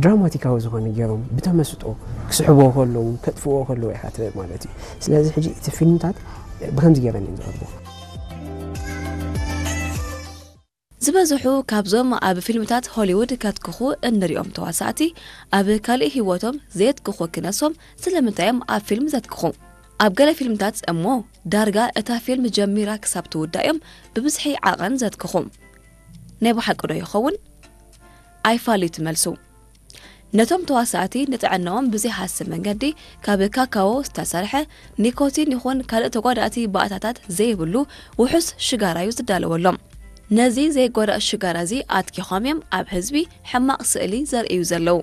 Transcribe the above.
ድራማቲካዊ ዝኾነ ገይሮም ብተመስጦ ክስሕቦ ከለዉ ከጥፍዎ ከለዉ ኢኻ ትርኢ ማለት እዩ። ስለዚ ሕጂ እቲ ፊልምታት ብከምዚ ገይረን እዮም ዝቐርቡ። ዝበዝሑ ካብዞም ኣብ ፊልምታት ሆሊውድ ከትክኹ እንሪኦም ተዋሳእቲ ኣብ ካልእ ህይወቶም ዘየትክኹ ክነሶም ስለምንታይ እዮም ኣብ ፊልም ዘትክኹ? ኣብ ገለ ፊልምታት እሞ ዳርጋ እታ ፊልም ጀሚራ ክሳብ ትውዳእ እዮም ብብዝሒ ዓቐን ዘትክኹ። ናይ ብሓቂ ዶ ይኸውን? ኣይፋል እዩ ትመልሱ። ነቶም ተዋሳእቲ ንጥዕናኦም ብዘይሃሲ መንገዲ ካብ ካካዎ ዝተሰርሐ ኒኮቲን ይኹን ካልእ ተጓዳእቲ ባእታታት ዘይብሉ ውሑስ ሽጋራ እዩ ዝዳለወሎም። ነዚ ዘይጎዳእ ሽጋራ እዚ ኣትኪኾም እዮም ኣብ ህዝቢ ሕማቕ ስእሊ ዘርእዩ ዘለዉ።